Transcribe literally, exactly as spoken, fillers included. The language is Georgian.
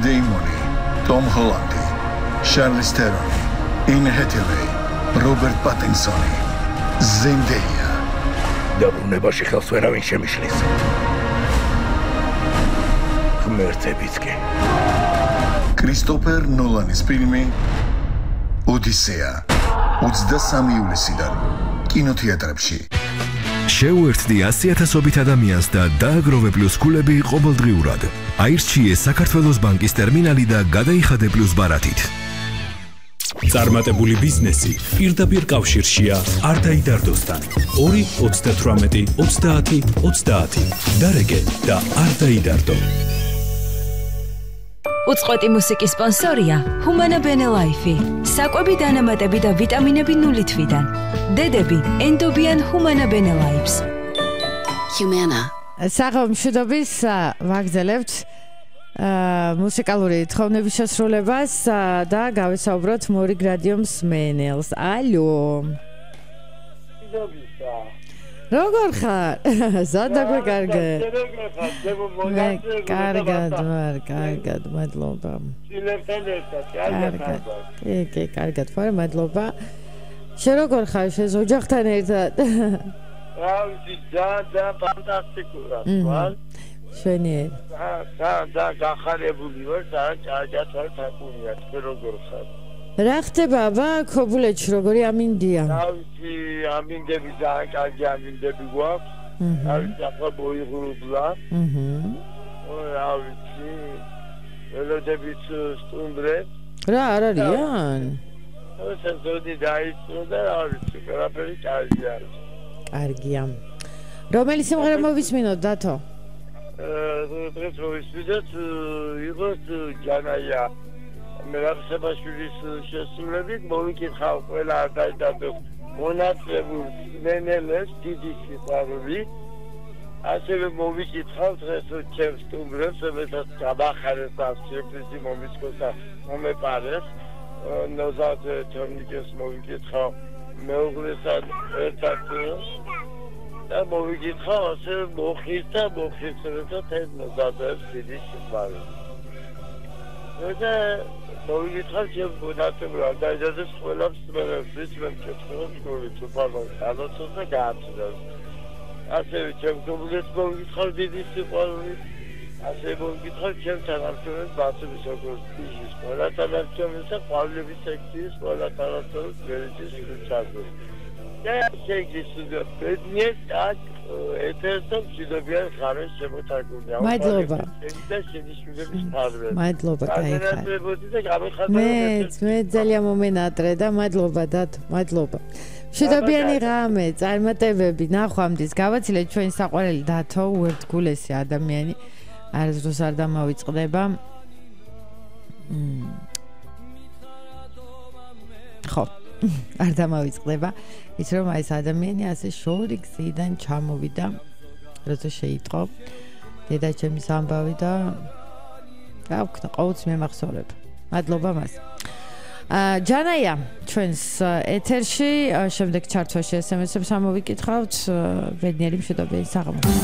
დეიმონი, ტომ ჰოლანდი, შარლიზ თერონი, ინ ჰეთილეი, რობერტ პატინსონი, ზენდეია. დაბრუნებაში ხელს ვერავინ შემიშლის. ღმერთებიც კი. კრისტოფერ ნოლანის ფილმი ოდისეა ოცდასამი ივლისიდან კინოთეატრებში. შეუერთდი ასი ათასობით ადამიანს და დააგროვე პლუს ქულები ყოველდღიურად. აირჩიე საქართველოს ბანკის ტერმინალი და გადაიხადე პლუს ბარათით. წარმატებული ბიზნესი პირდაპირ კავშირშია არდაიდარდოსთან. ორი ოცდათვრამეტი ოცდაათი ოცდაათი. დარეგე და არდაიდარდო. უწყვეტი მუსიკის სპონსორია ჰუმანა ბენელაიფი. საკვები დანამატები და ვიტამინები ნული თვიდან. დედები ენდობიან ჰუმანა ბენელაიფს. ჰუმანა. საღამოშუდობის ვაგზელებთ მუსიკალური თხოვნების შესრულებას და გავესაუბროთ მორიგ რადიო მსმენელს. ალო. როგორ ხარ? ზადა გვეკარგე. კარგად ვარ, კარგად, მადლობა. შილებთან ერთად, კარგად. კი, კი, კარგად ვარ, მადლობა. შენ როგორ ხარ? შენ ოჯახთან ერთად? რა ვიცი, და ფანტასტიკურად ვარ. შენიერ. და და გახარებული ვარ, და ჭაჭაც ვარ თაკუნია, თქვენ როგორ ხარ? რა ხდება აბა ქობულეთში როგორი ამინდია? რა ვიცი, ამინდები ძალიან კარგი ამინდები გვაქვს. რა ვიცი, ახლა მოიღრუბლა. აჰა. რა ვიცი, ველოდებიც სტუმრებს. რა არ არიან? სეზონი დაიწყო და რა ვიცი, ყველაფერი კარგი არის. კარგია. რომელი სიმღერა მოვისმინოთ, დათო? დღეს მოვისმინოთ იყოს ჯანაია მერაბსებაშვილის შესრულებით. მოვიკითხავ ყველა არდაიდარდოს მონაწილეულ მენელებს დიდი სიყვარული. ასევე მოვიკითხავ დღეს ჩემს სტუმრებს, რომელსაც გამახარეს და სიურპრიზი მომისკოს და მომეპარეს. ნოზად თორნიკეს მოვიკითხავ მეუღლესთან ერთად და მოვიკითხავ ასე მოხის და მოხისრებთან ეს ნოზადებს დიდი სიყვარული. და მოვიკითხავ ჩემს მონაწილეულ არდაიდარდოს ყველა მსმენელს, ვისმენ კითხავს გულით უფალოს ალოცოს და გააცნობს. ასევე ჩემს გულით მოვიკითხავ დიდი სიყვარული. ასე მოვიკითხავ ჩემს თანამშრომელს ბაცების ოქროს ფიჟის ყველა თანამშრომელს და ყვავილების სექციის ყველა თანამშრომელს ვერიტის ჩაგვეს. და შეგისურვებთ ბედნიერ და ეთერსა მშვიდობიან ხარეს შემოთარგმნია. მადლობა. და შენიშნულების ფარველი. მადლობა, კაიხარ. და გამიხარდა. მე მე ძალიან მომენატრე და მადლობა დათო, მადლობა. მშვიდობიანი ღამე, წარმატებები, ნახვამდის. გავაცილეთ ჩვენი საყვარელი დათო, უერთგულესი ადამიანი. არასდროს არ დამავიწყდება. ხო, არ დამავიწყდება. ის რომ აი ეს ადამიანი ასე შორი გზიდან ჩამოვიდა, როცა შეიტყო დედაჩემის ამბავი და გავქნა ყოველთვის მემახსოვრებ. მადლობა მას. ჯანაია ჩვენს ეთერში, შემდეგ ჩართვაში ეს ემ ესებს ამოვიკითხავთ. ბედნიერი მშვიდობიანი საღამო.